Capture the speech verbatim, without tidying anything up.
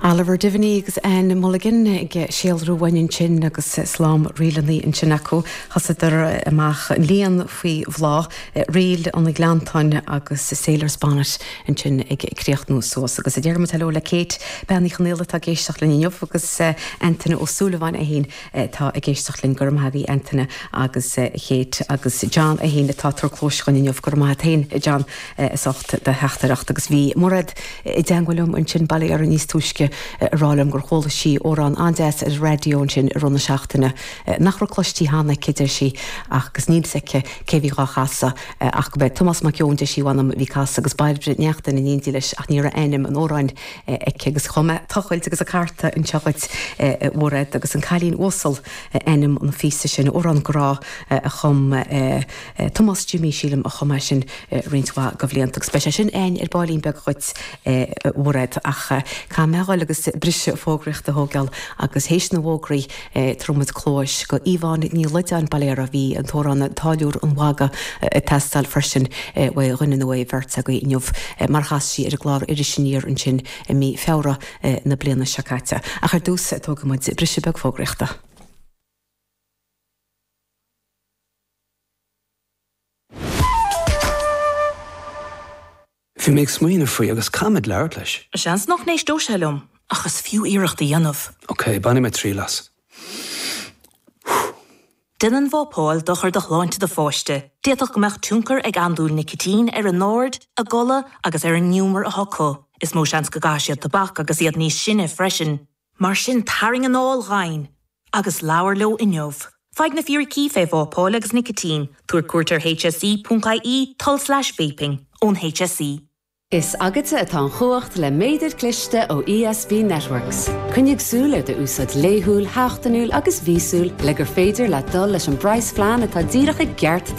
Oliver Diviney agus Anne Mulligan ag síolrú uainn ansin agus slám ríleanna ansin acu chasadar amach an Líon faoi Bhláth Ríl an Ghleanntáin agus Sailor's Bonnet ansin ag críochnú suas agus a déarfaidh hello le Kate Bean Uí Chonaola atá ag éisteacht linn inniu agus Antaine Ó Súilleabháin é féin atá ag éisteacht linn go raibh maith agat Antaine agus Kate agus John é féin atá tar clóis chun inniu go raibh maith agat féin John as ucht do theachtaireacht agus bhí Mairéad i dteagmháil liom ansin baile ar níos túisce a rá liom gur chuala sí amhrán an-deas ar raidió ansin i rith na seachtaine nach raibh cloiste cheana aici deir sí agus níl a fhios aici cé bhí dhá chasadh ach go b'é Tomás Mac Eoin deir sí bhanam bhí casadh agus Bairbre Neachtain in éindí leis ach ní raibh ainm an amhráin aici agus chum mé tochailt agus a carta anseo dhuit Mhairéad agus an cailín uasal ainm an phíosa sin amhrán grá a chum Tomás Jimmy sílim a chum é sin roinnt mhaith de bhlianta agus beidh sé sin againn ar baillín beag dhuit Mhairéad ach caithfidh mé dhul agus briseadh fógraíochta a thógáil agus théis na bhfógraí tabharfaidh muid cluais go Yvonne Ní Loideáin bail uirthi bhí an t-amhrán Táilliúir an Mhagaidh ag teastáil freisin uaidh dhuine nó uaidh bheirt agaibh inniu mar chas sí ar an gclár Iris Aniar ansin i mí Feabhra na bliana seo caite. Ach ar dtús tógfaidh muid briseadh beag fógraíochta. Bhí mé ag smaoineamh faoi agus caithfimid labhairt leis. Seans nach n-éisteoidh sé liom, ach is fiú iarracht a dhéanamh. Ok, bainfidh mé triail as. Déanann vápáil dochar do shláinte do pháiste. D'fhéadfadh go mbeadh tionchar ag andúil nicitín ar a n-aird, a gcodladh agus ar an ngiúmar atá acu. Is mó seans go gcaithfidh siad tobac agus iad níos sine freisin. Mar sin tarraing anáil dhomhain agus labhair leo inniu. Faigh na fíricí fé vápáil agus nicitín, tabhair cuairt ar hse ponc ie tulslais vaping ón HSE. Is agatsa atá an chumhacht le méadar cliste ó ESB Networks. Coinnigh súil ar d'úsáid laethúil, sheachtainiúil agus mhíosúil le gur féidir leat dul leis an bpraghasphlean atá díreach i gceart